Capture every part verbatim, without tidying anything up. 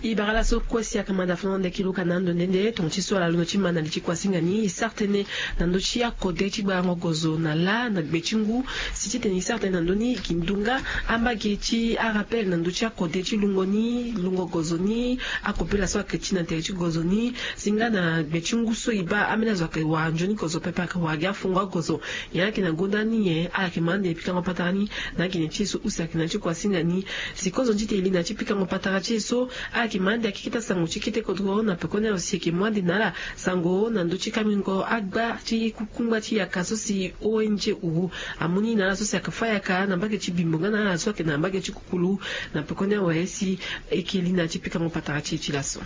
E bara laso kue si ayeke manda fana na ndeke luka na ando nde nde tonga ti so ala londo ti ma na li ti kuasinga ni e sara tënë na ndö ti akode ti gbarango gozo na lâ na gbe ti ngu. Si titene e sara tënë na ndö ni e ke ndu nga ambage ti arappel na ndö ti akode ti lungo ni lungo gozo ni. Akopela so ayeke ti na tere ti gozo ni si nga na gbe ti ngu so e baa ambeni azo ayeke wara nzoni gozo pepe ayeke wara gi afungo agozo. Nyen ayeke na gonda ni nyen ala yeke ma ande pikango patara ni? Na agene ti e so use ayeke na ya ti kuasinga ni. Si kozo ti tene e li na ya ti pikango patara ti e so ala yeke ma ande akeketa sango ti kete kodro na pekoni azo si e yeke mu ande na ala sango na ndö ti kamingo agba ti kukungba ti yaka so si ong uru amu ni na ala so si ayeke fâ yaka na mbage ti bimbo nga na ala so ayeke na mbage ti kukulu. Na pekoni awe si e yeke li na ya ti pikango patara ti e ti laso.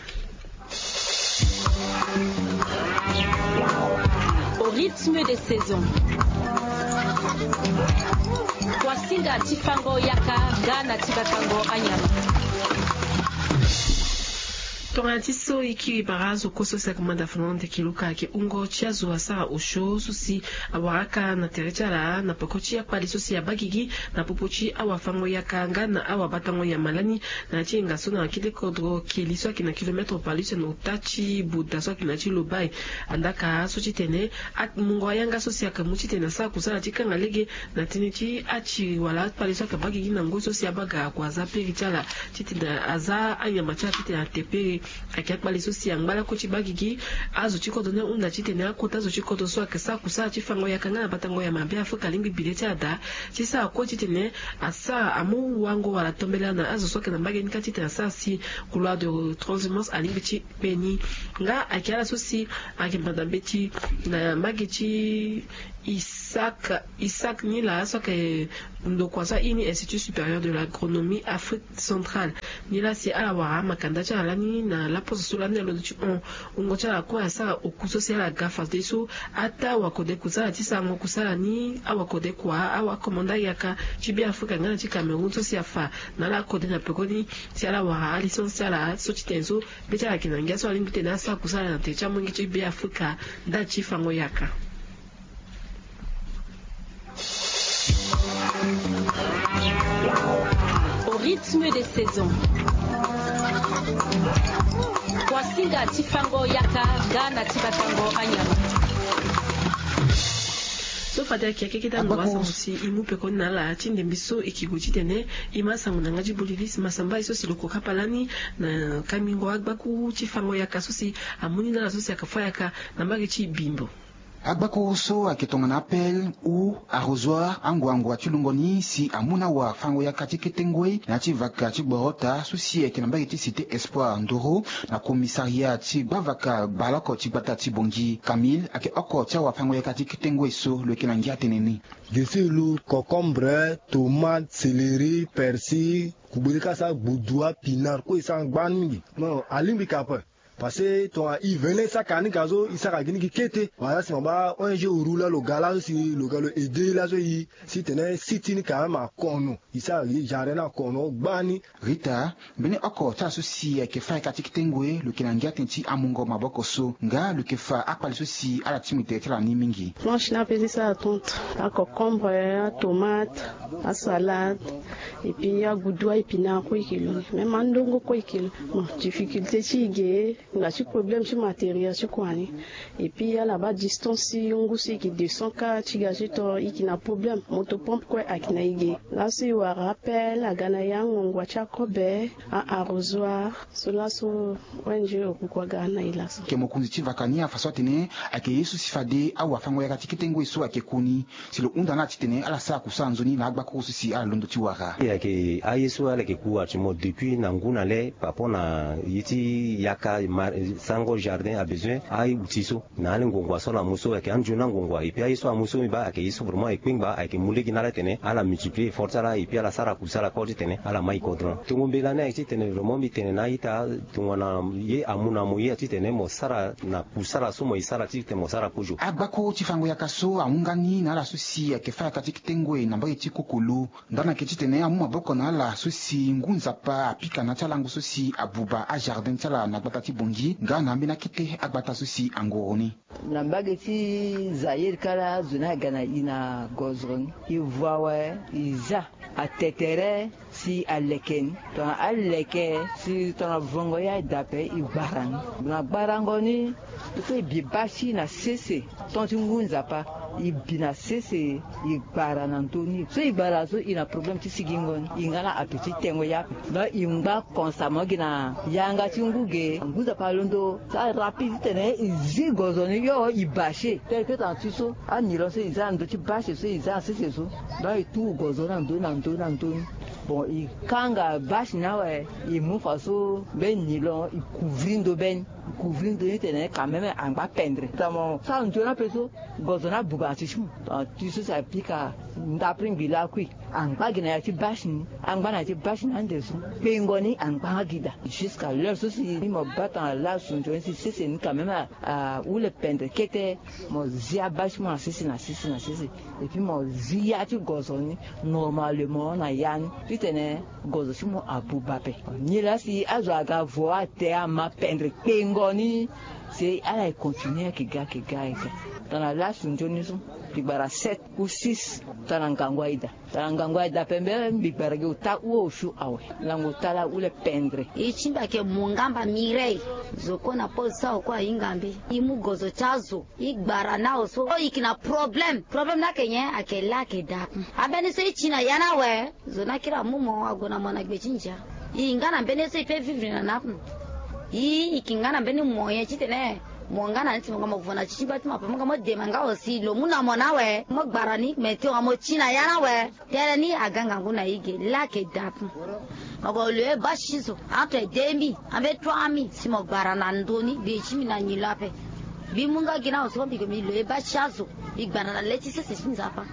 Au rythme des saisons. Kuasinga ti fango yaka nga na ti batango anyama. Tongana ti so e kiri bara azo kue so si ayeke manda fana na ndeke luka ayeke hungo ti azo asara osio so si awara aka na tere ti ala na peko ti akpali so si abaa gigi na popo ti awafango yaka nga na awabatango nyama lani. Na ya ti hinga so na kete kodro keli so ayeke na kilometre pali use na ota ti buda so ayeke na ya ti lobai. Andaka so titene amungo ayanga so si ayeke mu titene asara kusala ti kanga lege na tënë ti atiri wala akpali so ayeke baa gigi na ngoi so si abaa ga ako aza piri ti ala titene aza anyama ti ala titene ate piri. Ayeke akpali so si angba lakue ti baa gigi azo ti kodro ni ahunda titene akota azo ti kodro so ayeke sara kusala ti fango yaka nga na batango ya mabe afrika alingbi bi le ti ada ti sara kue titene asara amu wango wala tombela na azo so ayeke na mbage ni kâ titene asara si couloir de transhumance alingbi ti kpe ni. Nga ayeke ala so si ayeke manda mbeti na mbage ti isaac isaac ni laa so ayeke ndokua so airi ni institut supérieur de l'agronomie afrique centrale. Ni laa si ala wara amakanda ti ala lani na laposo so lani alondo ti hon wungo ti ala kue asara oku so si ala ga fadeso ataa wakode kusala ti sarango kusala ni awakode kua awakomanda yaka ti beafrika nga na ti cameroun so si afa na ala akode na pekoni si ala wara alicense ti ala so ti tene so be ti ala yeke na ngia so alingbi tene asara kusala na tere ti amolenge ti beafrika. Ndali ti fango yaka. Au rythme des saisons. Kuasinga ti fango yaka nga na ti batango anyama. So fade ayeke akeketa ndo asango si e mu pekoni na ala ti ndembe so e ke gue titene e ma asango na yanga ti bolivis masamba ye so si lo ko kapa lani na kamingo agbakuru ti fango yaka so si amu ni na ala so si ayeke fâ yaka na mbage ti bimbo. Agbakuru so ayeke tongana appel ou arrosoir angua angua ti lungo ni si amu na awafango yaka ti kete ngoi na ya ti vaka ti gboro ota so si ayeke na mbage ti cité espoir ndoro na commissariat ti gbavaka baleoko ti gbata ti bongi camille ayeke oko ti awafango yaka ti kete ngoi so lo yeke na ngia atene ni. Gesi lu cocombre, tomate, céleri, persil, kugbele ka sa gbudua pinar kue e sara ngba ni mingi. Non alingbi ka ape. Parce que tonga e vene saka ni ka so e saka gi ni gi kete wala si ma ba ong uru laa lo ga laso si lo ga lo aide laso e si tene si ti ni ka même akono e sara gi jardin ni akono gbani. Rita mbeni oko ti ala so si ayeke fâ yaka ti kete ngoi lo yeke na ngia tënë ti amungo maboko so nga lo yeke fa akpali so si ala ti mu tere ti ala ni mingi. Planche ni ape ti sara tonte, acocombre, atomate, asalade, et puis agudu aépinard kue e ke lo ni même andongo kue e ke lo. Bon difficulté ti e ge nga ti problème ti matériel ti kua ni. Et puis ala baa distance ti ngu so e ke deux cents ka ti ga ti to e ke na problème moto pompe kue ayeke na e ge. Laso e wara appel aga na e angongua ti akobe, a arrosoir, so laso ong okukua ga na e laso. Ke mokonzi ti vaka ni afa so atene ayeke ye so si fade awafango yaka ti kete ngoi so ayeke ku ni si lo hunda na ala titene ala sara kusara nzoni na agbakuru so si ala londo ti wara. Ayeke aye so ala yeke ku actuellement depuis na ngu na le par rapport na ye ti yaka sango jardin abezoin aye outil so na ala ngongua so ala mu so ayeke anzoni angongua et puis aye so ala mu so mbi baa ayeke ye so vraiment e kpengba ayeke mu lege na ala titene ala multiplier effort ti ala et puis ala sara kusala kor titene ala ma e kodro na tongo mbela ni ayeke titene vraiment mbi tene na a-ita tongana ye amu na mo ye titene mo sara na kusala so mo ye sara titene mo sara kozo. Agbako ti fango yaka so ahunga ni na ala so si ayeke fa yaka ti kete ngoi na mbage ti kokolo ndani ayeke titene amu maboko na ala so si ngu nzapa apika na ya ti alango so si abuba ajardin ti ala na gbata ti ngi nga na ambeni akete agbata so si angoro ni. Na mbage ti Zaïre kala azo ni aga na i na gozoro ni, i vua awe, i za atetere si aleke ni. Tongana aleke si tongana vongo ye aye daa ape, i gbara ni. Na gbarango ni, so i bi basi na sese, ton ti ngu nzapa, i bi na sese, i gbara na ndö ni. So i gbara so, i na problème ti sigingo ni, i nga na ape ti tengo ye ape. Donc i ngba constamment gi na yanga ti ngu ge, ngu nzapa alondo sara rapide titene i zi gozo ni, yo i bâche. Tel que tongana ti so, anilon so i za na ndö ti bâche so i za na sese so, donc i tu gozo na ndö na ndö na ndö ni. Bon, i kanga bâche ni awe, i mu fa so mbeni nilon i couvrir ndö be ni. Couvrir ndö ni titene quand même angba pendre. Tongana mo sara nzoni ape so, gozo ni abuba na ti ti mo. Tongana ti so si apika ndapre ngbi lakui, angba gi na ya ti bâche ni, angba na ya ti bâche ni ande so, kpengo ni angba nga gi daa. Jusqu'à l'heure so si mo bâ tongana lasu nzoni si sese ni quand même a, ahule pendre kete, mo zi abâche ti mo na sese na sese na sese. Et puis mo zi ya ti gozo ni normalement na ya ni titene gozo ti mo abuba ape. Nilaa si azo aga vo ate ama pendre kpengo ni, si ala e continuer ayeke ga ayeke ga ayeke ga. Tongana lasu nzoni so, mbi gbara sept ou six, tongana ngangu aye daa. Tongana ngangu aye daa ape, mbi gbara gi ota ue osio awe. Lango ota laa ahule pendre. E ti mbi ayeke Mongamba Mireille. Zo kue na pose so awe kue ahinga mbi. E mu gozo ti azo. E gbara na awe so, e yeke na problème. Problème ni ayeke nyen? Ayeke laa ayeke daa. Ambeni so e ti na ya ni awe, zo ni akiri amu mo ague na mo na gbe ti ndia. E nga na mbeni ye so e peut vivre na ni ape. E yeke nga na mbeni moyen titene mo nga na ni si mo ga mo vo na ti ti gba ti mo ape, mo ga mo dema nga awe si lo mu na mo ni awe, mo gbara ni. Mais tongana mo ti na ya ni awe, tere ni aga ngangu na e ge, laa ayeke daa. Mo gue loyer bâche ti zo entre deux mille ambeni trois mille si mo gbara na ndö ni, gbe ti mbi na nyi lo ape. Mbi mu nga gi na awe so mbi gue mbi loyer bâche ti azo, mbi gbara na le ti sese ti nzapa.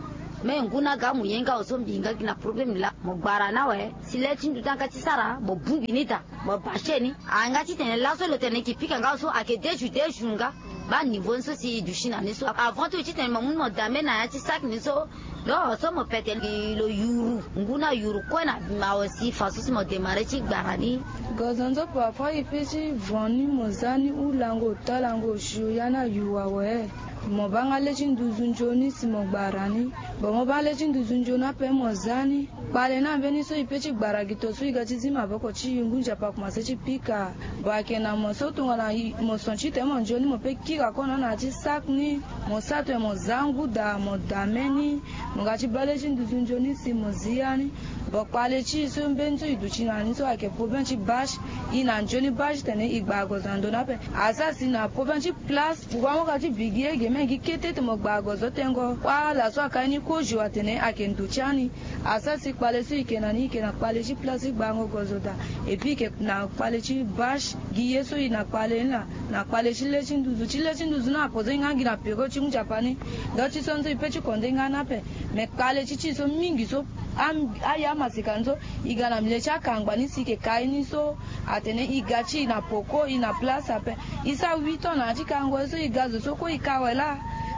Me ngu ni aga amu ye nga awe so mbi nga gi na problème laa. Mo gbara ni awe si le ti ndu ti yanga ti sara mo bongbi ni daa, mo bâche ni. Ayeke nga titene laso lo tene e yeke pika nga awe so ayeke deux jours deux jours nga. Baa niveau ni so si e duti na ni so, avant tout titene mo mu ni mo dame na ya ti sac ni so. Donc so mo pete lo yuru, ngu ni ayuru kue na awe si façon si mo démarrer ti gbara ni. Gozo nzo parfois e peut ti vo ni mo za ni ou lango ota lango osio ya ni ayuru awe. Mo baa nga le ti nduzu nzoni si mo gbara ni. Bon, mo baa le ti nduzu nzoni ape mo za ni. Kpale ni ambeni so e peut ti gbara gi to so e ga ti zi maboko ti e, ngu nzapa akomanse ti pika. Bon, ayeke na mo so tongana mo son titene mo nzoni mo peut kira kue na ni na ya ti sac ni. Mo sara tene mo za ngu daa mo dame ni. Mo ga ti baa le ti nduzu nzoni si mo zi ya ni. Bon, kpale ti e so mbeni so e duti na ni so ayeke problème ti bâche. E na nzoni bâche titene e gbara gozo na ndö ni ape. Asara si na problème ti place, pourquoi mo ga ti bi gi ye ge me gi kete tene mo gbara gozo tengo. Kua ala so akai ni kozo atene ayeke ndo ti ani. Asara si kpale so e yeke na ni e yeke na kpale ti place ti gbarango gozo daa. Et puis e yeke na kpale ti bâche. Gi ye so e na kpale ni laa, na kpale ti le ti nduzu. Ti le ti nduzu ni apoze e nga gi na période ti ngu nzapa ni. Donc ti so nzo e peut ti konde nga ni ape. Mais kpale ti ti so mingi so, a- aye amaseka ni so, e ga na milieu ti akangba ni si e yeke kai ni so, atene e ga ti e na poko e na place ape. E sara huit ans na ya ti karango ye so e ga zo so kue e ka awe laa.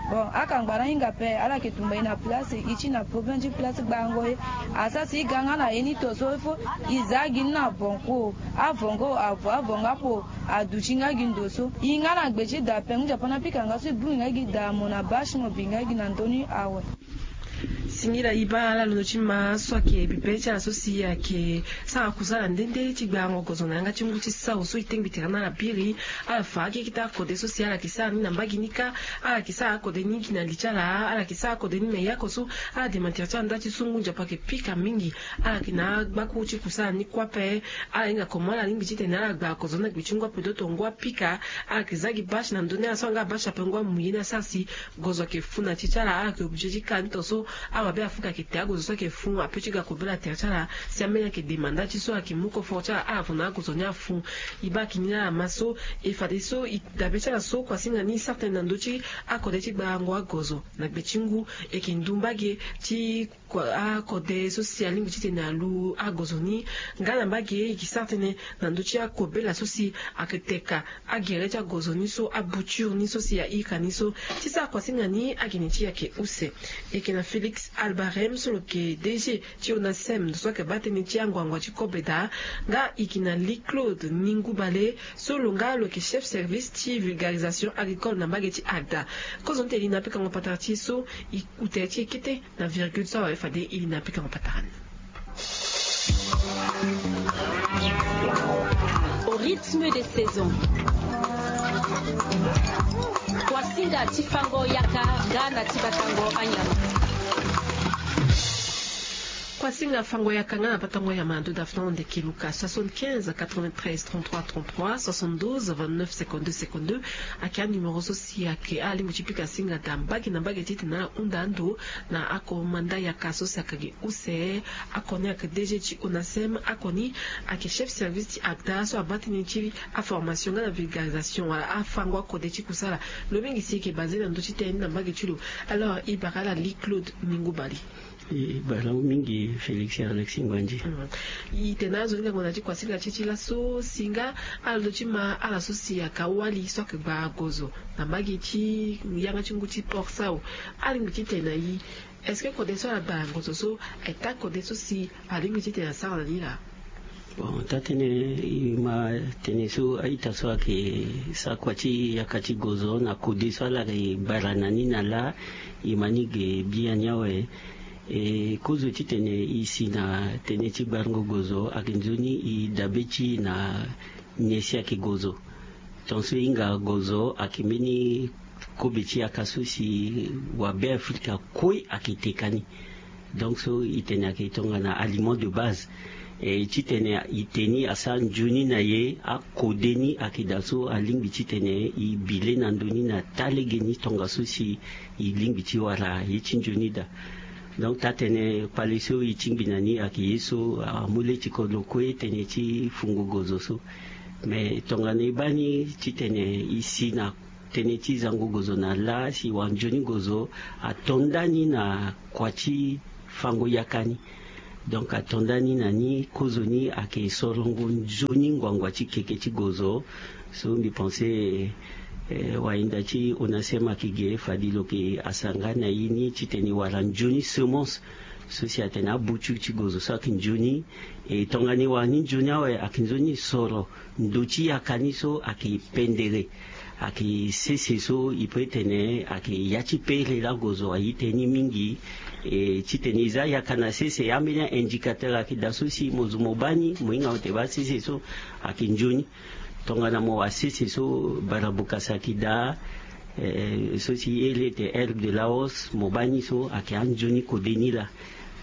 Bon, akangba ni ahinga ape, ala yeke tumba e na place, e ti na problème ti place gbarango ye. Asara si e ga nga na ye ni to so il faut e za gi ni na bonko. Avongo avo avongo apo aduti nga gi ndo so. E nga na gbe ti da ape, ngu nzapa ni apika nga so e bongbi nga gi daa mo na bâche mo bi nga gi na ndö ni awe. Singila e baa ala londo ti ma so ayeke bibe ti ala so si ayeke sara kusala nde nde ti gbarango gozo na yanga ti ngu ti sao so e tengbi tere na ala biri. Ala fa akekita akode so si ala yeke sara ni na mbage ni kâ. Ala yeke sara akode ni gi na li ti ala, ala yeke sara akode ni me yako so ala dema tere ti ala nda ti so ngu nzapa ayeke pika mingi. Ala yeke na agbakuru ti kusala ni kue ape. Ala hinga komo ala lingbi titene ala gbara gozo ni na gbe ti ngu ape do to ngu apika. Ala yeke za gi bâche na ndö ni ala so anga bâche ape ngu amu ye ni asara si gozo ayeke fu na ti ti ala, ala yeke obligé ti ka ni to so. Awabe afu ka ayeke te agozo so ayeke fu ape ti ga kobela tere ti ala. Si ambeni ayeke dema nda ti so ayeke mu confort ti ala, ala vo na agozo ni afu. E baa ayeke ni na ala ma so, e fadeso e dabe ti ala so kuasinga ni e sara tënë na ndö ti akode ti gbarango agozo na gbe ti ngu. E yeke ndu mbage ti kua- akode so si alingbi titene alu agozo ni. Nga na mbage e yeke sara tënë na ndö ti akobela so si ayeke teka agere ti agozo ni so, abouture ni so si aika ni so. Ti sara kuasinga ni agene ti e ayeke use. E yeke na Félix Albarem so lo yeke D G ti onasem ndo so ayeke baa tënë ti anguangu ti kobe daa, nga e yeke na Lee Claude Ningubale so lo nga lo yeke chef service ti vulgarisation agricole na mbage ti ACDA. Kozoni ti e li na apikango patara ti e so e ute ti e kete na virgule so awe fade e li na apikango patara ni. Au rythme des saisons. Kuasinga ti fango yaka nga na ti batango anyama. Kuasinga fango yaka nga na batango anyama ndo dafa na ndeke luka soixante-quinze quatre-vingt-treize trente-trois trente-trois, soixante-douze vingt-neuf cinquante-deux cinquante-deux. Ayeke anuméro so si ayeke alingbi ti pika singa daa mbage na mbage titene ala hunda ando na ako manda yaka so si ayeke gi use. Ako ni ayeke D G ti onasem, ako ni ayeke chef service ti ACDA so abaa tënë ti aformation nga na vulgarisation wala afango akode ti kusala. Lo mingi si e yeke basé na ndö ti tënë ni na mbage ti lo. Alors e bara ala Lee Claude Ningubale. E bara mingi Félix Alex Ngwanji. Mm. E tene azo ni ngango na ti kuasinga ti e ti laso si nga ala ndö ti ma ala so si ayeke awali so ayeke gbaa gozo na mbage ti yanga ti ngu ti Port Sao. Alingbi titene na e, est-ce que kode so ala gbaa na gozo so aye taa kode so si alingbi titene asara na ni laa? Bon, taa tënë e ma tënë so a-ita so ayeke sara kua ti yaka ti gozo na kode so ala yeke gbara na ni na laa, e ma ni ge biani awe. E kozo titene e si na tënë ti gbarango gozo ayeke nzoni e dabe ti e na nyen si ayeke gozo. Tongaso e hinga gozo ayeke mbeni kobe ti yaka so si wabe Afrika kue ayeke teka ni. Donc so e tene ayeke tongana aliment de base. E titene e te ni asara nzoni na e, akode ni ayeke daa so alingbi titene e bi le na ndö ni na taa legeni tongaso si e lingbi ti wara ye ti nzoni daa. Donc taa tënë kpale so e tingbi na ni ayeke ye so amu le ti kodro kue tënë ti fungo gozo so. Mais tongana e baa ni titene e si na tënë ti zango gozo na laa si wara nzoni gozo ato nda ni na kua ti fango yaka ni. Donc ato nda ni na ni kozoni ayeke sorongo nzoni nguangua ti keke ti gozo. So mbi pense, eh, wayenda ti onasem ayeke ge fade lo yeke asara nga na e ni titene e wara nzoni semence so si atene abutu ti gozo so ayeke nzoni. E tongana e wara ni nzoni awe ayeke nzoni e soro ndö ti yaka ni so ayeke pendere. Ayeke sese so e peut tene ayeke ya ti pere laa gozo aye tënë ni mingi. E titene e za yaka na sese ambeni a-indicateur ayeke daa so si mo zo mo baa ni mo hinga mo te baa sese so ayeke nzoni. Tongana mo wara sese so barabokasa ayeke daa, eh, so si e iri ete herbe de Laos, mo baa ni so ayeke anzoni kode ni laa.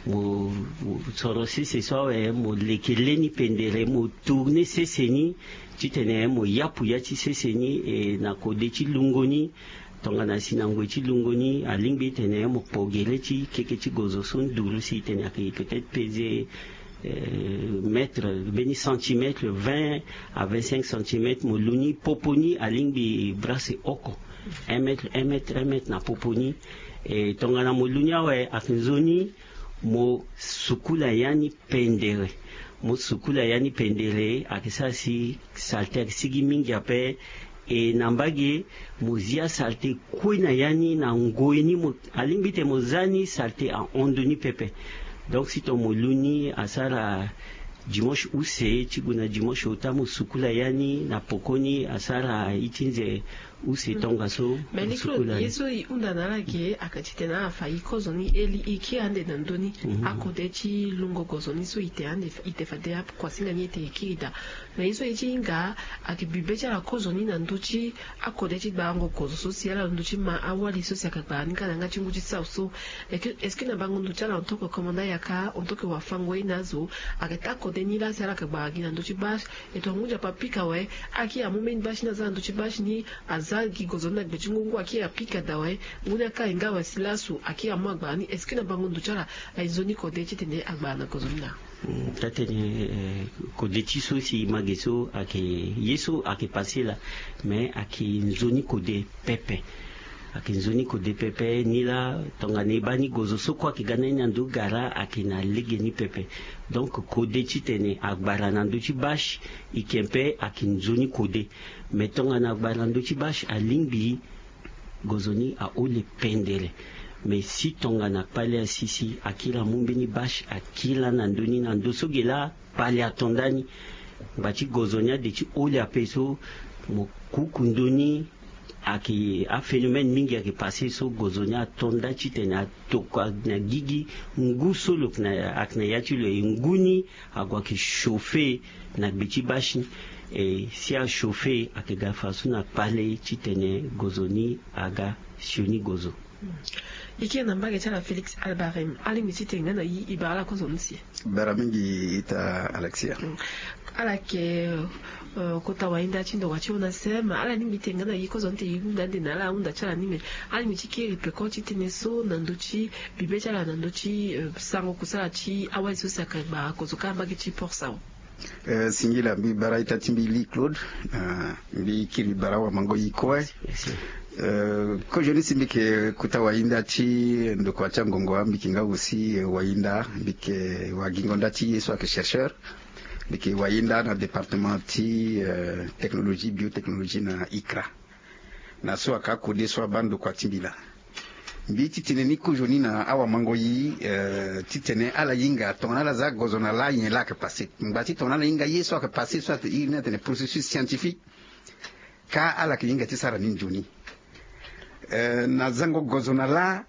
Mo soro sese so awe mo leke le ni pendere mo tourner sese ni titene mo yapu ya ti sese ni. E na kode ti lungo ni, tongana si na ngoi ti lungo ni alingbi titene mo kpo gere ti keke ti gozo so nduru si tene ayeke peut-être peze, eh, mètre, mbeni centimètre vingt à vingt-cinq centimètres. Mo lu ni popo ni alingbi brasse oko un mètre, un mètre, un mètre na popo ni. E tongana mo lu ni awe ayeke nzoni mo sukula ya ni pendere. Mo sukula ya ni pendere ayeke sara si salte ayeke sigi mingi ape. E na mbage mo zia salte kue na ya ni na ngoi ni mo alingbi tene mo za ni salte ahon ndö ni pepe. Donc si tongana mo lu ni asara dimanche use ti gue na dimanche ota mo sukula ya ni na pokoni asara iti nze use tongaso. Mais mo sukula ni. Ye so e hunda na ala ge ayeke titene ala fa e kozoni e li e kiri ande na ndö ni. Mhm. Akode ti lungo gozo ni so e te ande e te fade akuasinga ni e te e kiri daa. Mais ye so e ti hinga ayeke bibe ti ala kozoni na ndö ti akode ti gbarango gozo so si ala lo ndö ti ma awali so si ayeke gbara ni nga na yanga ti ngu ti sau so. Est-ce que na bango ndo ti ala en tant que commandant yaka en tant que wafango ye na azo ayeke taa kode ni laa si ala yeke gbara gi na ndö ti bâche? E tongana ngu nzapa apika awe, akiri amu mbeni bâche ni aza na ndö ti bâche ni, aza gi gozo ni na gbe ti ngu ngu akiri apika daa awe. Ngu ni akari nga awe si lasu akiri amu agbara ni. Est-ce que na bango ndo ti ala aye nzoni kode titene agbara na gozo ni laa? Taa tënë, eh, kode ti so si ma ge so ayeke ye so ayeke passé laa. Mais ayeke nzoni kode pepe. Ayeke nzoni kode pepe ni laa tongana e baa ni gozo so kue ayeke ga na ni na ndo gara ayeke na lege ni pepe. Donc kode titene agbara na ndö ti bâche, e yeke mpe ayeke nzoni kode. Mais tongana agbara na ndö ti bâche alingbi gozo ni ahole pendere. Mais si tongana kpale asi si akiri amu mbeni bâche akiri lani na ndö ni na ndö so ge laa kpale ato ndani. Ngba ti gozo ni ade ti holi ape so mo kuku ndö ni. Ayeke aphénomène mingi ayeke passé so gozo ni ato nda titene atokua na gigi ngu so lo yeke na ya ti lo e ngu ni. Ague ayeke chauffé na gbe ti bâche ni. E si achauffé ayeke ga faso na kpale titene gozo ni aga sioni gozo. Ike na mbage ti ala Félix Albarem alingbi ti tene nga na yi e bara ala kozo ni si. Bara mingi ita Alexia. Ala yeke kota wahinda ti ndokua ti ona seme ala lingbi ti tene nga na yi kozo ni te yi hunda ande na ala ahunda ti ala ni me. Alingbi ti kiri peko ti tënë so na ndö ti bibe ti ala na ndö ti sango kusala ti awali so si ayeke gba kozo kâ mbage ti porsa. Singila mbi bara ita ti mbi li Claude. Mbi kiri bara wamango yi kue. Kozoni si mbi yeke kota wahinda ti ndokua ti angongo mbi yeke nga aussi wahinda mbi yeke wagingo nda ti ye so ayeke chercheur. Mbi yeke wahinda na département ti technologie biotechnologie na icra. Na so ayeke akode so abaa ndokua ti mbi laa. Mbi titene ni kozoni na awamango yi titene ala hinga tongana ala za gozo na laa nyen laa ayeke passé ngba ti tongana ala hinga ye so ayeke passé so iri ni atene processus scientifique. Kâ ala yeke hinga ti sara ni nzoni. Na zango gozo na laa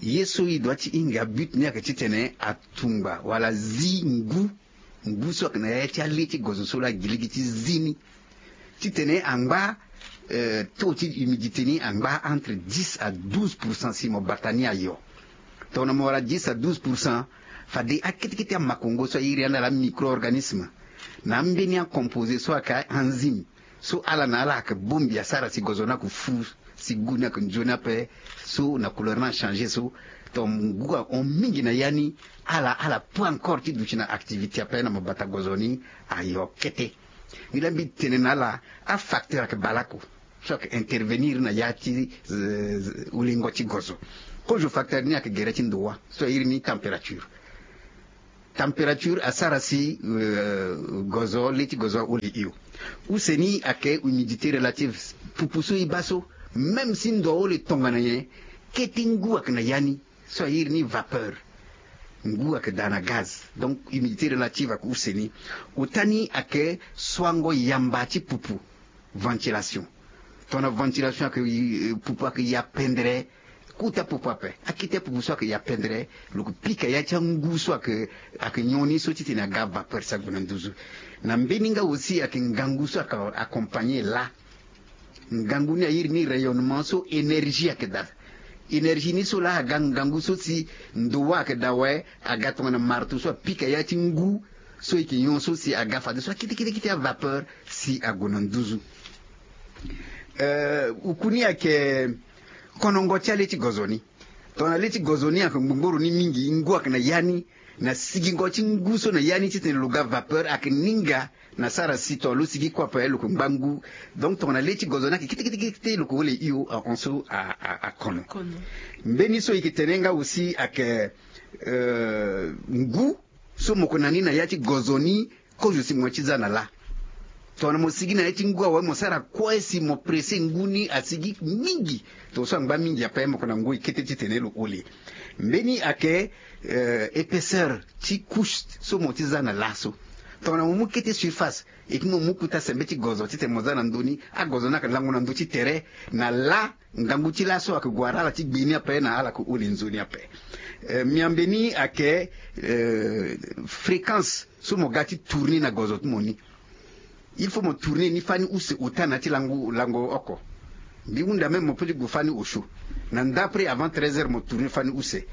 ye so e doit ti hinga but ni ayeke titene atungba wala zi ngu ngu so ayeke na ya ti ale ti gozo so laa gi lege ti zi ni. Titene angba taux ti humidité ni angba entre dix à douze pour cent si mo bata ni ayo. Tongana mo wara dix à douze pour cent fade akete kete amakongo so airi ande ala amicro-organisme na ambeni acomposé so ayeke enzyme so ala na ala ayeke bongbi asara si gozo ni ayeke fu si gu ni ayeke nzoni ape. So na couleur ni achangé so ton ngu ahon mingi na ya ni. Ala ala peut encore ti duti na activité ape na mabata gozo ni. Ayo kete. Ni laa mbi tene na ala afacteur ayeke baleoko so ayeke intervenir na ya ti holingo ti gozo. Kozo facteur ni ayeke gere ti ndowa so airi ni température. Température asara si gozo le ti gozo aholi hio. Use ni ayeke humidité relative. Pupu so e baa so même si ndo aholi tongana nyen kete ngu ayeke na ya ni. So airi ni vapeur. Ngu ayeke daa na gaz. Donc humidité relative ayeke use ni. Ota ni ayeke soango yamba ti pupu. Ventilation. Tongana ventilation ayeke pupu ayeke ya pendere. Kota pupu ape akete apupu so ayeke ya pendere. Lo yeke pika ya ti angu so ayeke ayeke nyon ni so titene aga vapeur si ague na nduzu. Na mbeni nga aussi ayeke ngangu so ayeke accompagné laa. Ngangu ni airi ni rayonnement so énergie ayeke daa. Énergie ni so laa aga ngangu so si ndo wâ ayeke daa awe. Aga tongana marteau so apika ya ti ngu so e yeke nyon so si aga fadeso akete kete kete avapeur si ague na nduzu. Uku ni ayeke konongo ti ale ti gozo ni. Tongana le ti gozo ni ayeke ngbongboro ni mingi ngu ayeke na ya ni. Na sigingo ti ngu so na ya ni titene lo ga vapeur ayeke ninga. Na sara si tongana lo sigi kue ape lo yeke ngba ngu. Donc tongana le ti gozo ni ayeke kete kete kete lo yeke hole hio ahon so akono. Mbeni so e yeke tene nga aussi ayeke ngu so mo yeke na ni na ya ti gozo ni. Kozo si mo ye ti za na laa. Tongana mo sigi na ya ti ngu awe mo sara kue si mo pressé ngu ni asigi mingi. Tongaso angba mingi ape mo yeke na ngoi kete titene lo holi. Mbeni ayeke épaisseur ti couche so mo ti za na laa so. Tongana mo mu kete surface. Eke mo mu kuta sembe ti gozo titene mo za na ndö ni. Agozo ni ayeke lango na ndö ti tere. Na laa ngangu ti laa so ayeke gue wara ala ti gbe ni ape na ala yeke holi nzoni ape. Miambe ni ayeke fréquence so mo ga ti tourner na gozo ti mo ni. Il faut mo tourner ni fani use ota na ya ti lango lango oko. Mbi hunda même mo peut ti gue fani osio. Na nda après avant treize heures mo tourner fani use.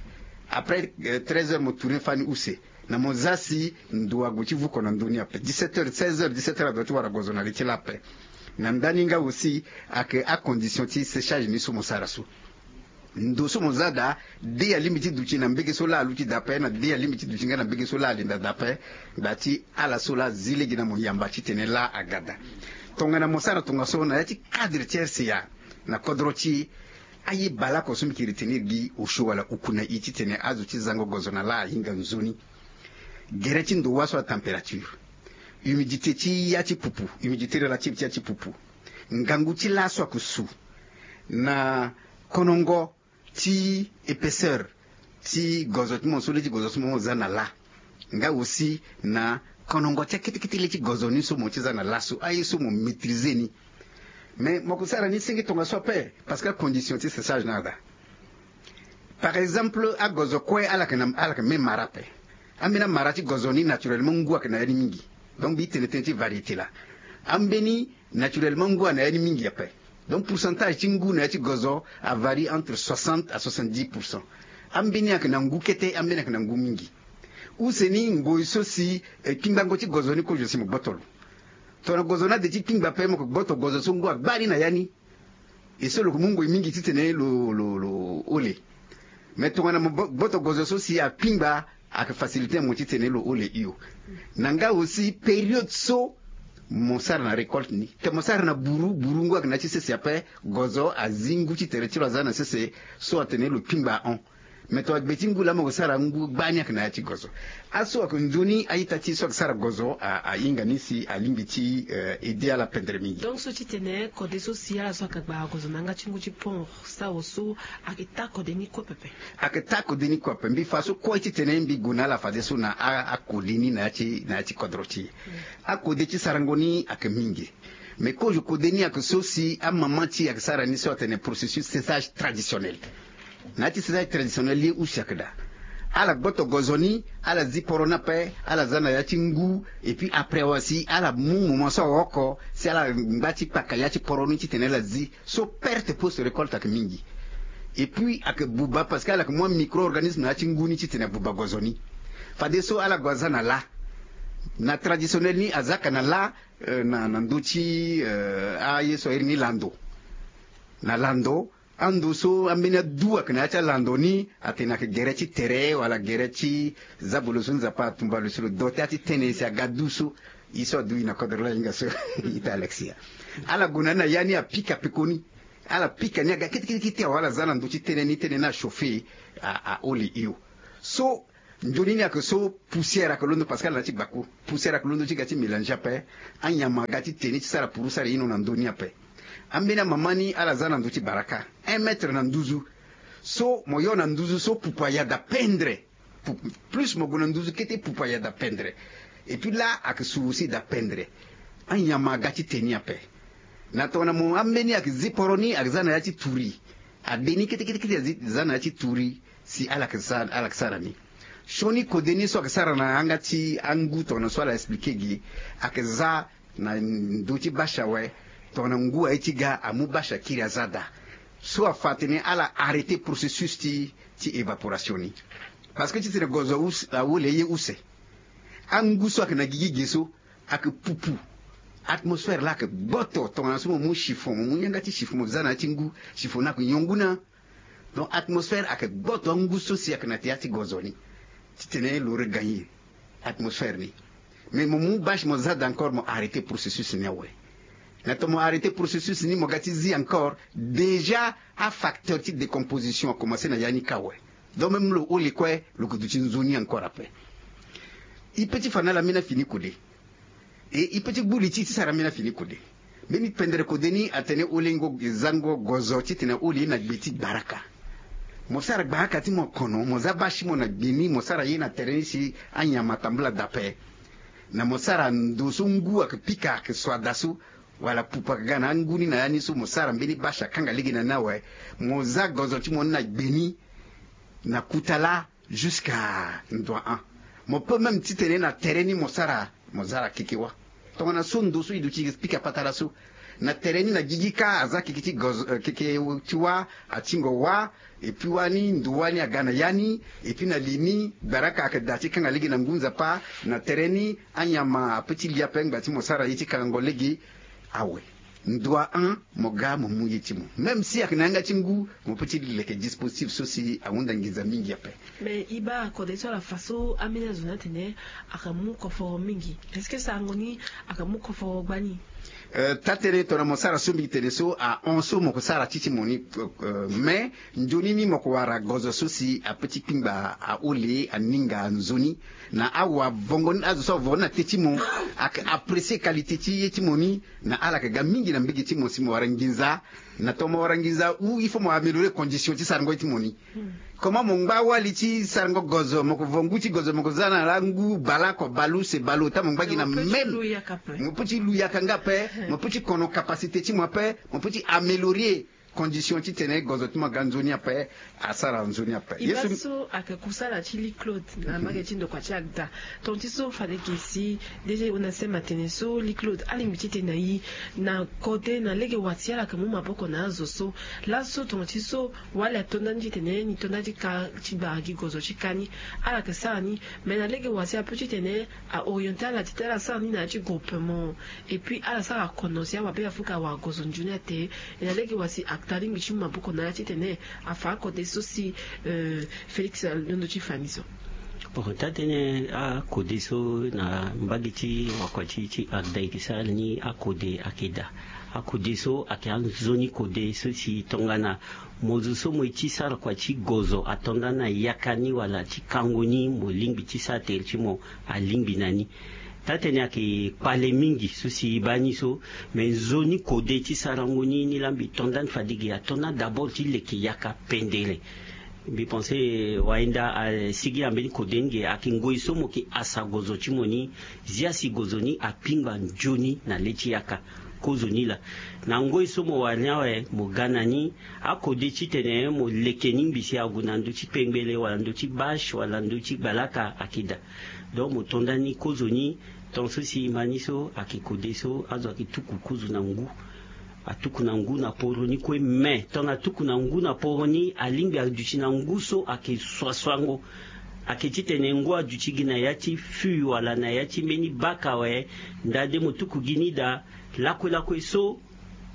Après treize heures mo tourner fani use. Na mo za si ndo ague ti vuko na ndö ni ape dix-sept heures seize heures dix-sept heures adoit ti wara gozo na li ti laa ape. Na ndani nga aussi ayeke acondition ti séchage ni so mo sara so. Ndo so mo za daa de alingbi ti duti na mbege so laa aluti daa ape na de alingbi ti duti nga na mbege so laa alinda daa ape. Daa ti ala so laa azi lege na mo yamba titene laa aga daa. Tongana mo sara tongaso na ya ti cadre ti rca na kodro ti aye baleoko so mbi yeke retenir gi osio wala uku na i titene azo ti zango gozo na laa ahinga nzoni. Gere ti ndo wâ so atempérature. Humidité ti ya ti pupu humidité relative ti ya ti pupu. Ngangu ti laa so ayeke su. Na konongo ti épaisseur ti gozo ti mo so le ti gozo so mo za na lâ. Nga aussi na konongo ti akete kete le ti gozo ni so mo ti za na lâ so aye so mo maîtriser ni. Mais mo ko sara ni senge tongaso ape parce que acondition ti séchage na ada. Par exemple agozo kue ala yeke na ala yeke même mara ape. Ambeni amara ti gozo ni naturellement ngu ayeke na ya ni mingi. Donc mbi tene tënë ti variété laa. Ambeni naturellement ngu ayeke na ya ni mingi ape. Donc pourcentage ti ngu na ya ti gozo avarie entre soixante à soixante-dix pour cent. Ambeni ayeke na ngu kete, ambeni ayeke na ngu mingi. Use ni ngoi so si kpingbango ti gozo ni kozo si mo gboto lo. Tongana gozo ni ade ti kpingba ape mo yeke gboto gozo so ngu agba ni na ya ni. E so lo yeke mu ngoi mingi titene lo lo lo hole. Mais tongana mo gboto gozo so si akpingba, ayeke facilité na mo titene lo hole hio. Na nga aussi période so mo sara na récolte ni. Tongana mo sara na buru, buru ngu ayeke na ya ti sese ape. Gozo azi ngu ti tere ti lo aza na sese so atene lo kpingba ahon. Mais tongana gbe ti ngu laa mo yeke sara ngu gbani ayeke na ya ti gozo. Aso ayeke nzoni a-ita ti e so ayeke sara gozo ahinga ni si alingbi ti aider ala pendere mingi. Donc so titene kode so si ala so ayeke gba gozo na yanga ti ngu ti pont sawo so ayeke taa kode ni kue pepe. Ayeke taa kode ni kue ape mbi fa so kue titene mbi gue na ala fadeso na akode ni na ya ti na ya ti kodro ti e. Akode ti sarango ni ayeke mingi. Mais kozo kode ni ayeke so si amama ti e ayeke sara ni so atene processus séchage traditionnel. Na ya ti séchage traditionnel ye use ayeke daa. Ala gboto gozo ni, ala zi poro ni ape, ala za na ya ti ngu. Et puis après awa si ala mu moment so awa oko si ala ngba ti kpaka ya ti poro ni titene ala zi. So perte post récolte ayeke mingi. Et puis ayeke buba parce que ala yeke mu amicro organisme na ya ti ngu ni titene abuba gozo ni. Fadeso ala gue aza na lâ. Na traditionnel ni aza ka na lâ. Na ndö ti aye so airi ni lando. Na lando ando so ambeni adu ayeke na ya ti alando ni atene ayeke gere ti tere wala gere ti zabolo so nzapa atumba lo si lo do ti ya ti tene si aga du so. E so adu e na kodro la e hinga so. Ita alexia. Ala gue na ni na ya ni apika pekoni. Ala pika ni aga kete kete kete awe ala za na ndö ti tene ni tene ni achauffer. Ahole hio. So nzoni ni ayeke so poussière ayeke londo parce que ala na ya ti gbaku. Poussière ayeke londo ti ga ti mélanger ape. Anyama aga ti te ni ti sara puru sara ino na ndö ni ape. Ambeni amama ni ala za na ndö ti baraka un mètre na nduzu. So mo yo na nduzu so pupu aya da pendre. Plus mo gue na nduzu kete pupu aya da pendre. Et puis la ayeke suru si da pendre. Anyama aga ti te ni ape. Na tongana mo ambeni ayeke zi poro ni ayeke za na ya ti turi. Ade ni kete kete kete azi za na ya ti turi. Si ala yeke sara ni. Sioni kode ni so ayeke sara na yanga ti angu tongana so ala expliquer gi. Ayeke za na ndö ti bâche awe. Tongana ngu aye ti ga amu bâche akiri aza daa. So afa atene ala arrêter processus ti ti évaporation ni. Parce que titene gozo ahole ye use. Angu so ayeke na gigi ge so ayeke pupu. Atmosphère laa ayeke gboto tongana so mo mu chiffon mo mu yanga ti chiffon mo za na ya ti ngu. Chiffon ni ayeke nyon ngu na. Donc atmosphère ayeke gboto angu so si ayeke na ya ti gozo ni. Titene lo regagner atmosphère ni. Mais mo mu bâche mo za daa encore mo arrêter processus ni awe. Na tongana mo arrêter processus ni mo ga ti zi encore déjà afacteur ti décomposition akomanse na ya ni kâ awe. Donc même lo hole kue lo ke duti nzoni encore ape. E pe ti fa na ala mbeni afini kode. E e pe ti gbu li ti e ti sara mbeni afini kode. Mbeni pendere kode ni atene holengo zango gozo titene ahole ye na gbe ti gbaraka. Mo sara gbaraka ti mo kono mo za basi mo na gbe ni mo sara ye na tere ni si anyama atambula dape. Na mo sara ndo so ngu ayeke pika ayeke so ada so. Wala pupu ayeke ga na angu ni na ya ni so mo sara mbeni basi akanga lege na ni awe. Mo za gozo ti mo ni na gbe ni. Na kuta laa jusqu'à ndoa an. Mo peut même titene na tere ni mo sara mo zara keke wâ. Tongana so ndo so e duti pika patara so. Na tere ni na gigi kâ aza keke ti gozo keke ti wâ. Atingo wâ. Et puis wani ndo wani aga na ya ni. Et puis na li ni gbaraka ayeke daa ti kanga lege na ngu nzapa. Na tere ni anyama ape ti li ape ngba ti mo sara ye ti kangango lege. Awe. Ndoa an mo ga mo mu ye ti mo même si ayeke na yanga ti ngu. Mo pe ti leke dispositif so si ahunda nginza mingi ape. Mais e baa kode so ala fa so ambeni azo ni atene ayeke mu koforo mingi. Est-ce que sarango ni ayeke mu koforo gbani? Taa-tënë tongana mo sara so mbi tene so ahon so mo ko sara ti ti mo ni. Me nzoni ni mo ko wara gozo so si ape ti kpingba ahole aninga nzoni na awavongo ni azo so avongo ni na te ti mo. Ake apprecie kalite ti ye ti mo ni. Na ala yeke ga mingi na mbege ti mo si mo wara nginza. Na tongana mo wara nginza ou il faut mo améliorer condition ti sarango ye ti mo ni. Comment mo ngba wali ti sarango gozo mo ko vo ngu ti gozo mo ko za na la ngu baleoko baleuse baleota mo ngba gi na même. Mo pe ti lu yaka nga pe. Mo pe ti kono capacité ti mo ape. Mo pe ti améliorer condition titene gozo ti mo aga nzoni ape. Asara nzoni ape. Ye so ayeke kusala ti li claude na mbage ti ndokua ti agda. Tonga ti so fade ge si déjà e hunda sema tene so li claude alingbi titene ayi na kode na lege wa ti ala yeke mu maboko na azo so. Laso tonga ti so wali ato ndani titene ni to ndani ti ka ti gbara gi gozo ti ka ni. Ala yeke sara ni. Mais na lege wa si ape titene a orienter ala titene ala sara ni na ya ti groupement. Et puis ala sara kono si awabe afuka awara gozo nzoni ate. E na lege wa si akta alingbi ti mu maboko na ala titene afa akode so si félix alondo ti fa ni so. Bon, taa-tënë akode so na mbage ti wakua ti ti agda e ke sara ni akode ayeke daa. Akode so ayeke anzoni kode so si tongana mo zo so mo ye ti sara kua ti gozo ato ndani na yaka ni wala ti kango ni mo lingbi ti sara tere ti mo. Alingbi na ni. Taa-tënë ayeke kpale mingi so si e baa ni so. Me nzoni kode ti sarango ni ni laa mbi to ndani fade ge ato ndani d'abord ti leke yaka pendere. Mbi pense wayenda asigi na mbeni kode ni ge ayeke ngoi so mo yeke asa gozo ti mo ni. Zia si gozo ni akpingba nzoni na le ti yaka. Kozoni laa na ngoi so mo wara ni awe mo ga na ni. Akode titene mo leke ni ngbi si ague na ndö ti pengbele wala ndö ti bache wala ndö ti gbalaka ayeke daa. Donc mo to ndani kozoni. Tonga so si e ma ni so ayeke kode so azo ayeke tuku kuzu na ngu. Atuku na ngu na poro ni kue me tongana atuku na ngu na poro ni alingbi aduti na ngu so ayeke suasuango. Ayeke titene ngu aduti gi na ya ti fût wala na ya ti mbeni baka awe. Ndade mo tuku gi ni daa. Lakue lakue so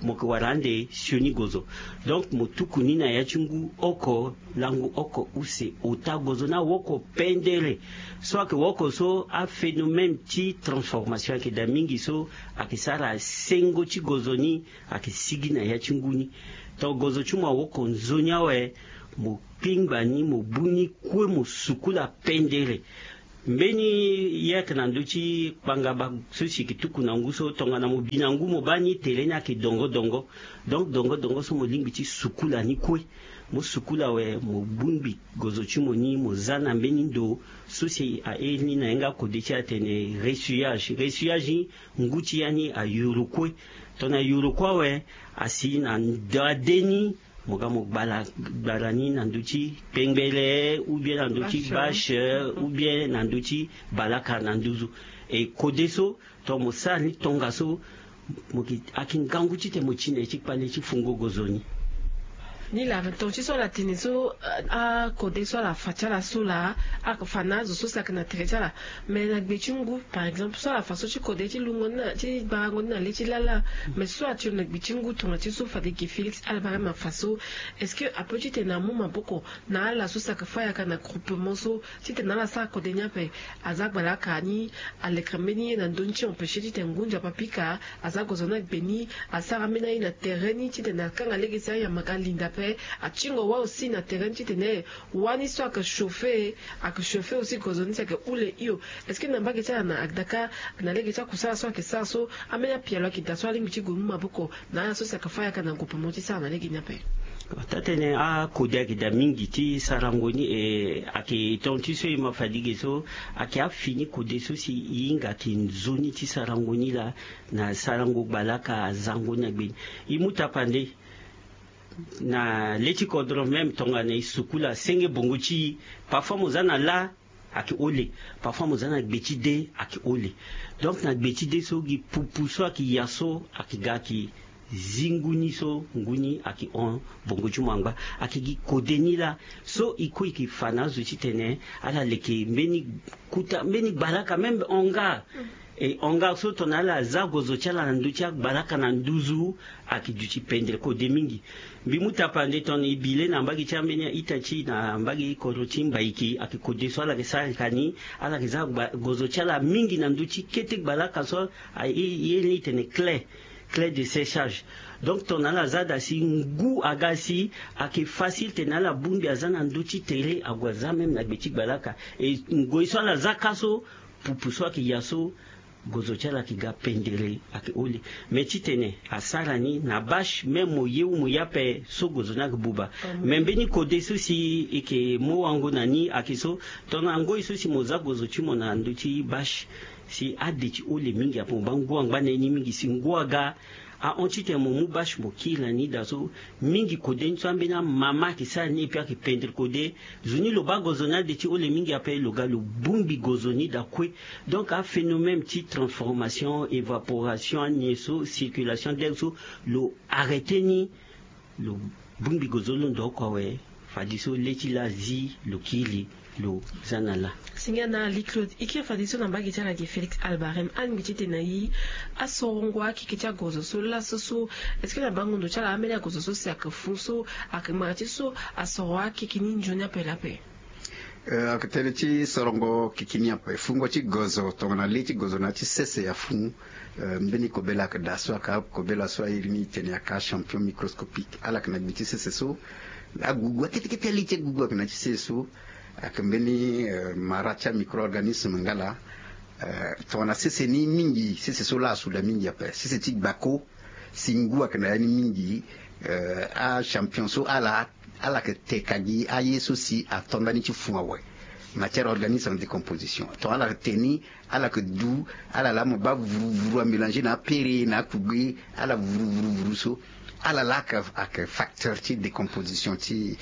mo yeke wara ande sioni gozo. Donc mo tuku ni na ya ti ngu oko langu oko use ota gozo ni awoko pendere. So ayeke woko so aphénomène ti transformation ayeke daa mingi so ayeke sara sengo ti gozo ni. Ayeke sigi na ya ti ngu ni. Tongana gozo ti mo awoko nzoni awe mo kpingba ni mo bu ni kue mo sukula pendere. Mbeni ye ayeke na ndö ti kpangaba so si yeke tuku na ngu so tongana mo bi na ngu mo baa ni tere ni ayeke dongo dongo. Donc dongo dongo so mo lingbi ti sukula ni kue. Mo sukula awe mo bongbi gozo ti mo ni mo za na mbeni ndo so si airi ni na yanga kode ti atene ressuyage ressuyage ni. Ngu ti ya ni ayuru kue. Tongana ayuru kue awe asi na ndade ni. Mo ga mo gbala gbala ni na ndö ti pengbele ou bien na ndö ti bache ou bien na ndö ti balaka na nduzu. E kode so tongana mo sara ni tongaso mo yeke aki ngangu titene mo ti na ye ti kpale ti fungo gozo ni. Ni laa tonga ti so ala tene so akode so ala fa ti ala so laa. Ayeke fa na azo so si ayeke na tere ti ala. Mais na gbe ti ngu par exemple so ala fa so ti kode ti lungo ni na ti gbarango ni na le ti lala. Mais so atio na gbe ti ngu tonga ti so fade ge félix ala baa ma fa so. Est-ce que ape titene amu maboko na ala so si ayeke fa yaka na groupement so titene ala sara kode ni ape? Aza gbalaka ni alekere mbeni ye na ndö ni ti empêcher titene ngu nzapa pika. Aza gozo ni agbe ni asara ambeni aye na tere ni titene akanga lege si ayamba ga alinda ape. Atingo wâ aussi na tere ni titene wani so ayeke chauffer. Ayeke chauffer aussi gozo ni si ayeke hule hio. Est-ce que na mbage ti ala na agdaka na lege ti akusala so ayeke sara so ambeni apialo ayeke daa so alingbi ti gue mu maboko na ala so si ayeke fa yaka na groupe mo ti sara na lege ni ape? Taa-tënë akode ayeke daa mingi ti sarango ni e ayeke tonga ti so e ma fadigue so. Ayeke afini kode so si e hinga ayeke nzoni ti sarango ni laa. Na sarango gbalaka azango ni na gbeni e mu tapande. Na le ti kodro même tongana e sukula senge bongo ti e. Parfois mo za na lâ ayeke hole. Parfois mo za na gbe ti de ayeke hole. Donc na gbe ti de so gi pupu so ayeke ya so ayeke ga ayeke zi ngu ni so ngu ni ayeke hon bongo ti mo angba. Ayeke gi kode ni laa so e kue e yeke fa na azo titene ala leke mbeni kuta mbeni gbalaka même hangar. E hangar so tongana ala za gozo ti ala na ndö ti agbalaka na nduzu. Ayeke duti pendere kode mingi. Mbi mu tapande tongana e bi le na mbage ti ambeni a-ita ti na mbage kodro ti mbaiki ayeke kode so ala yeke sara yaka ni. Ala yeke za gozo ti ala mingi na ndö ti kete gbalaka so aye ni e tene clé. Clé de séchage. Donc tongana ala za daa si ngu aga si ayeke facile tene ala bongbi aza na ndö ti tere ague aza même na gbe ti gbalaka. E ngoi so ala za ka so pupu so ayeke ya so gozo ti ala ayeke ga pendere ayeke hole. Me titene asara ni na bâche même mo ye ou mo ye ape so gozo ni ayeke buba. Me mbeni kode so si e yeke mu wango na ni ayeke so tongana ngoi so si mo za gozo ti mo na ndö ti bâche si ade ti hole mingi ape mo baa ngu angba na ye ni mingi si ngu aga ahon titene mo mu bâche mo kiri na ni daa so mingi kode ni so ambeni amama ayeke sara ni epui ayeke pendere kode. Zo ni lo baa gozo ni ade ti hole mingi ape lo ga lo bongbi gozo ni daa kue. Donc aphénomène ti transformation évaporation anie so circulation d'air so lo arrêter ni. Lo bongbi gozo lo ndo oko awe. Fadeso le ti laa zi lo kiri lo za na laa. Singa na ali claude e kiri fadeso na mbage ti ala ge félix albarem alingbi ti tene na ye asorongo akeke ti agozo so laso so? Est-ce que na bango ndo ti ala ambeni agozo so si ayeke fu so ayeke mara ti so asoro akeke ni nzoni ape lape? Ayeke tënë ti sorongo kiki ni ape fungo ti gozo tongana le ti gozo na ya ti sese afu. Mbeni kobela ayeke daa so ayeke akobela so airi ni e tene ayeke achampion microscopique ala yeke na gbe ti sese so. Agugu akete kete ali ti agugu ayeke na ya ti sese so. Ayeke mbeni mara ti amicro organisme nga laa. Tongana sese ni mingi sese so laa asu daa mingi ape sese ti gbako. Si ngu ayeke na ya ni mingi. Achampion so ala ala yeke te ka gi aye so si ato ndani ti fun awe. Matière organique en décomposition tongana ala yeke te ni ala yeke du ala laa mo baa vuru vuru amélanger na apere na akugbe. Ala vuru vuru vuru so ala laa ayeke facteur ti décomposition ti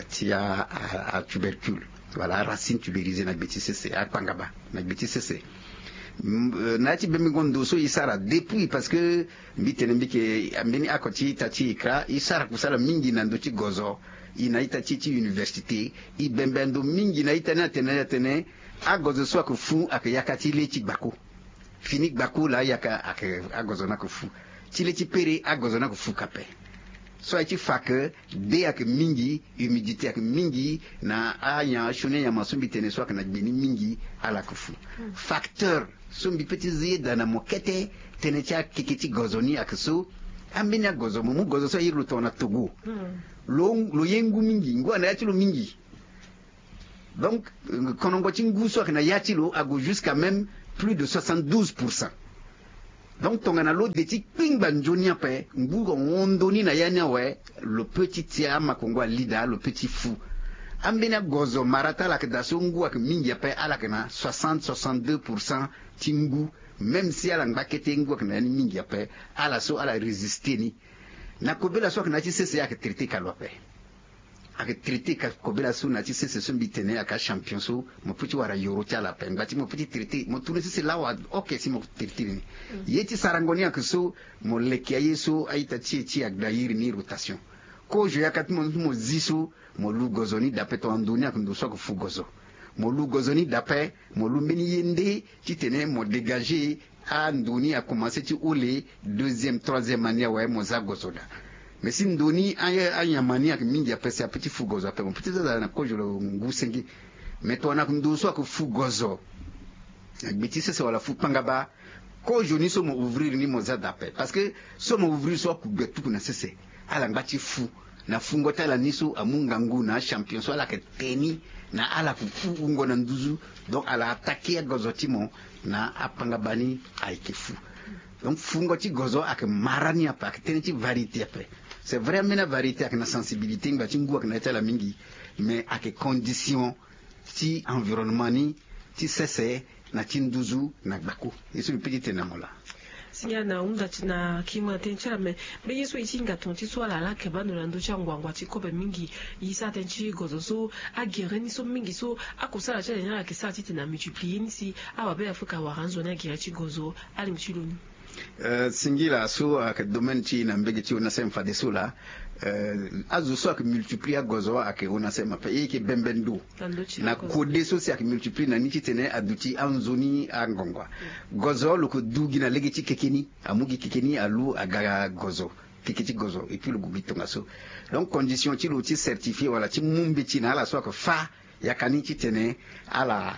ti atubercule. Wala aracine tubérisée na gbe ti sese akpangaba na gbe ti sese. Na ya ti bembengo ndo so e sara depuis parce que mbi tene mbi yeke mbeni oko ti ita ti e kra e sara kusala mingi na ndö ti gozo. E na ita ti e ti université e bembe ndo mingi na ita ni atene atene agozo so ayeke fu ayeke yaka ti le ti gbako. Fini gbako laa ayaka ayeke agozo ni ayeke fu ti le ti pere agozo ni ayeke fu kape. So aye ti fa ke de ayeke mingi humidité ayeke mingi na anya sioni anyama so mbi tene so ayeke na gbe ni mingi. Ala yeke fu facteur so mbi pe ti zi ye daa na mo kete tënë ti akeke ti gozo ni ayeke so. Ambeni agozo mo mu gozo so airi lo tongana togo lo ye ngu mingi ngu ana ya ti lo mingi. Donc konongo ti ngu so ayeke na ya ti lo ague jusqu'à même plus de soixante-douze pour cent. Donc tongana lo de ti kpingba nzoni ape ngu ahon ndo ni na ya ni awe. Lo pe ti tia amakongo ali daa lo pe ti fu. Ambeni agozo mara ti ala yeke daa so ngu ayeke mingi ape ala yeke na soixante soixante-deux pour cent ti ngu. Même si ala ngba kete ngu ayeke na ya ni mingi ape ala so ala résister ni. Na kobela so ayeke na ya ti sese ayeke traité ka lo ape. Ayeke traité ka kobela so na ya ti sese so mbi tene ayeke achampion so mo pe ti wara yoro ti ala ape ngba ti mo pe ti traité mo tourné sese laa wa. Ok si mo traité ni ye ti sarango ni ayeke so mo leke aye so a-ita ti e ti agda iri ni rotation. Kozo yaka ti mo ti mo zi so mo lu gozo ni dape tongana ndo ni ayeke ndo so ayeke fu gozo. Mo lu gozo ni dape mo lu mbeni ye nde titene mo dégagé. Ando ni akomanse ti hole deuxième troisième année awe mo za gozo daa. Mais si ndo ni anyama ni ayeke mingi ape si ape ti fu gozo ape mo pe ti za daa na kozo lo ngu senge. Mais tongana ayeke ndo so ayeke fu gozo na gbe ti sese wala fu kpangaba. Kozo ni so mo ouvrir ni mo za daa ape parce que so mo ouvrir so akugbe tuku na sese. Ala ngba ti fu na fungo ti ala ni so amu ngangu na achampion so ala yeke te ni na ala fu fu wungo na nduzu. Donc ala attaqué agozo ti mo na apangaba ni ayeke fu. Donc fungo ti gozo ayeke mara ni ape ayeke tënë ti variété ape. C'est vrai ambeni avariété ayeke na sensibilité ngba ti ngu ayeke na ya ti ala mingi. Mais ayeke condition ti environnement ni ti sese na ti nduzu na gbako. Ye so mbi pe ti tene na mo laa. Singa na hunda ti na kima tënë ti ala me mbe ye so e ti hinga tonga ti so ala laa keba ndo na ndö ti anguangu ti kobe mingi. E sara tënë ti gozo so agere ni so mingi so akusala ti ala ni ala yeke sara titene amultiplier ni si awabe afrika awara anzoni agere ti gozo. Alingbi ti lo ni. Singila so ayeke domaine ti e na mbege ti onasem fadeso laa. Azo so ayeke multiplier agozo ayeke onasem ape e yeke bembe ndo na kode so si ayeke multiplier na ni titene aduti anzoni angongo. Gozo lo yeke du gi na lege ti keke ni amu gi keke ni alu aga gozo keke ti gozo epui lo gue gi tongaso. Donc condition ti lo ti certifier wala ti mu mbeti na ala so ayeke fâ yaka ni titene ala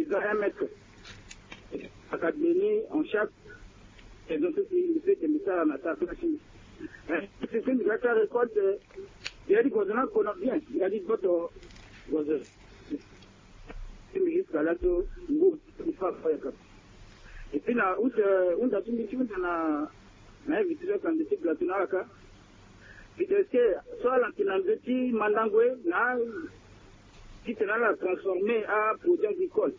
Eza un mètre. Aka beni en chaque saison so si mbi pe tene mbi sara na ta place ni. Eh, si si mbi ga sara récolte, mbi yadi gozo na kona bien, mbi yadi boto gozo. Si mbi jusqu'à là so ngu mbi fa fa yaka. Et puis na août, eh, hunda ti mbi ti hunda na, na invité so aka nze ti plateau na ala ka. Mbi tene so ala yeke na nze ti mandango e na titene ala transformer aproduit agricole.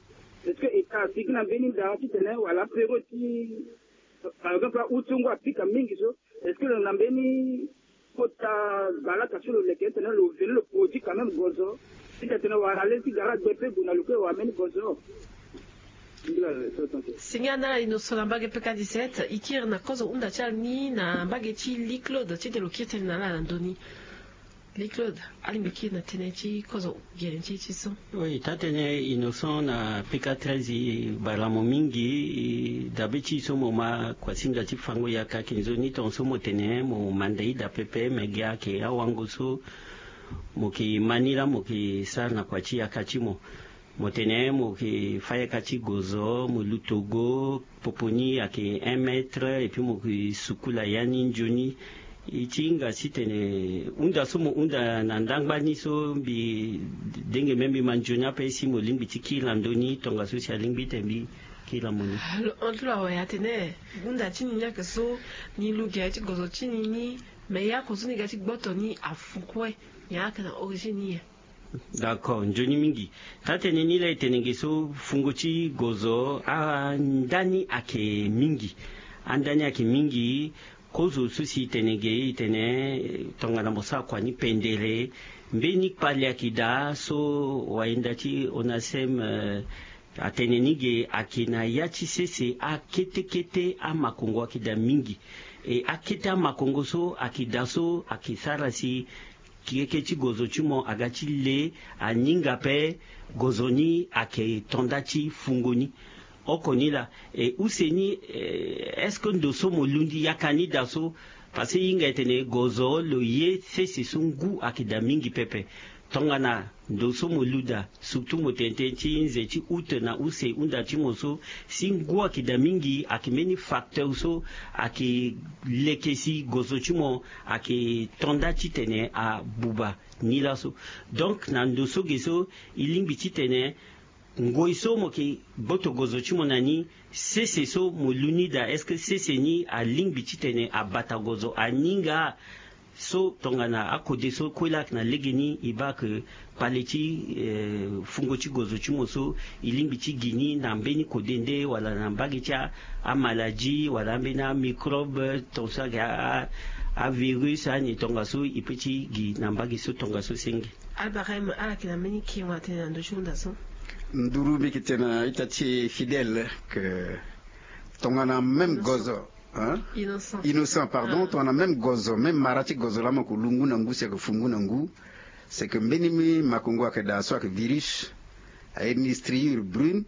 Est-ce que e ka asigi na mbeni nda titene wala apero ti, par exemple, août so ngu apika mingi so, est-ce que lo na mbeni kota balaka so lo leke titene lo veni lo produit quand même gozo? Titene wala le ti gara gbe pe gue na lo kue wala mbeni gozo. Singia ndala Innocent na mbage P K dix-sept, e kiri na kozo hunda ti ala ni na mbage ti Lee Claude titene lo kiri tënë na ala na ndö ni. Lee Claude, alingbi kiri na tënë ti kozo gere ti e ti so. Oui, taa-tënë Innocent na P K treize, e bale mo mingi. E dabe ti e so mo ma kuasinga ti fango yaka, ayeke nzoni tongaso mo tene mo manda ida pepe, me gi ayeke awango so mo yeke ma ni laa mo yeke sara na kua ti yaka ti mo. Mo tene mo yeke fa yaka ti gozo, mo luto go, popo ni ayeke un mètre, et puis mo yeke sukula ya ni nzoni. E ti hinga titene hunda so mo hunda na ndangba ni so mbi denge même mbi ma nzoni ape, si mo lingbi ti kiri na ndö ni tongaso si alingbi titene mbi kiri na mo ni. Lo hon ti lo awe atene hunda ti ni ni ayeke so, ni lu gere ti gozo ti ni ni, me ya oko so ni ga ti gboto ni afu kue, nyen ayeke na origine ni nyen? D'accord, nzoni mingi. Taa-tënë ni laa e tene ge so fungo ti gozo, andani ayeke mingi. Andani ayeke mingi. Kozo so si e tene ge, e tene, eh, tongana mo sara kua ni pendere, mbeni kpale ayeke daa so wayenda ti ONACEM, eh, Atene ni ge ayeke na ya ti sese akete kete amakongo ayeke daa mingi. E akete amakongo so ayeke daa so ayeke sara si keke ti gozo ti mo aga ti le, aninga ape gozo ni ayeke tonda ti fungo ni. Oko ni laa. E use ni, est-ce que ndo so mo lundi yaka ni daa so? Parce que hinga etene gozo lo ye sese so ngu ayeke daa mingi pepe. Tongana ndo so mo lu daa, surtout mo tene tënë ti nze ti août na use hunda ti mo so, si ngu ayeke daa mingi ayeke mbeni facteur so ayeke leke si gozo ti mo ayeke tonda titene abuba ni laso. Donc na ndo so ge so, e lingbi titene ngoi so mo yeke gboto gozo ti mo na ni, sese so mo lu ni daa, est-ce que sese ni alingbi titene abata gozo aninga? So tongana akode so kue laa ayeke na legeni, e baa ayeke pale ti fungo ti gozo ti mo so, e lingbi ti gi ni na mbeni kode nde wala na mbage ti amaladi wala ambeni amicrobe tongaso ayeke avirus ani tongaso e pe ti gi na mbage so tongaso senge. Albarem ala yeke na mbeni kengo atene na ndö ti hunda so. Nduru mbi yeke tene na ita ti fidèle ke tongana même gozo, hein? Innocent, pardon. Tongana même gozo, même mara ti gozo laa mo yeke lu ngu na ngu si ayeke fu ngu na ngu, c'est que mbeni makongo ayeke daa so ayeke virus, aye ni striure brune.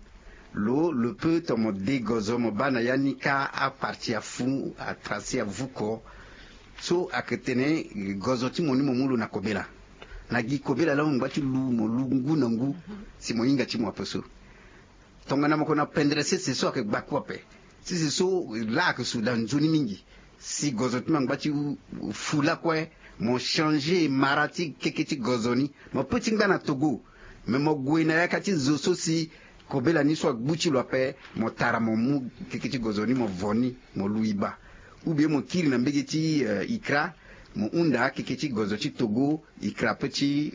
Lo lo pe tongana mo de gozo mo baa na ya ni kâ apartie afu atrasi avuko. So ayeke tene gozo ti mo ni mo mu lo na kobela. Na gi kobela laa mo ngba ti lu mo lu ngu na ngu si mo hinga ti mo ape so. Tongana mo ko na pendere sese so ayeke gbaku ape. Sese so laa ayeke su daa nzoni mingi. Si gozo ti mo angba ti fu lakue, mo changer mara ti keke ti gozo ni. Mo pe ti ngba na Togo, me mo gue na yaka ti zo so si kobela ni so agbu ti lo ape, mo tara mo mu keke ti gozo ni mo vo ni mo lu e baa. Ou bien mo kiri na mbege ti ikra, mo hunda keke ti gozo ti Togo, ikra pe ti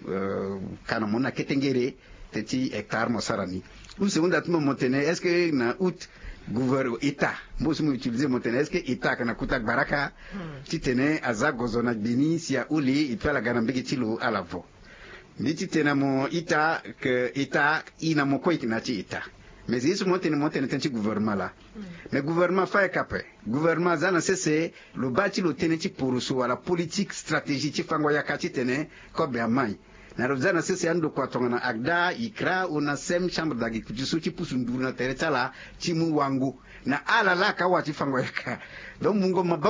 ka na mo ni na ketengere. Teti hectare mo sara ni. Use hunda ti mo mo tene est-ce que na août gouver état mbo so mo utiliser mo tene est-ce que état ayeke na kota gbaraka titene aza gozo na gbe ni si aholi e pe ala ga na mbege ti lo ala vo. Mbi titene na mo ita ke état e na mo kue e yeke na ya ti état. Mais ye so mo tene mo tene tënë ti gouvernement laa. Mais gouvernement fâ yaka ape. Gouvernement aza na sese lo baa ti lo tënë ti poroso wala politique stratégie ti fango yaka titene kobe amai. Na lo za na sese andokua tongana agda ikra ona sem chambre d'agriculture so ti pusu nduru na tere ti ala ti mu wango na ala laa aka wa ti fango yaka. Donc mungo maba.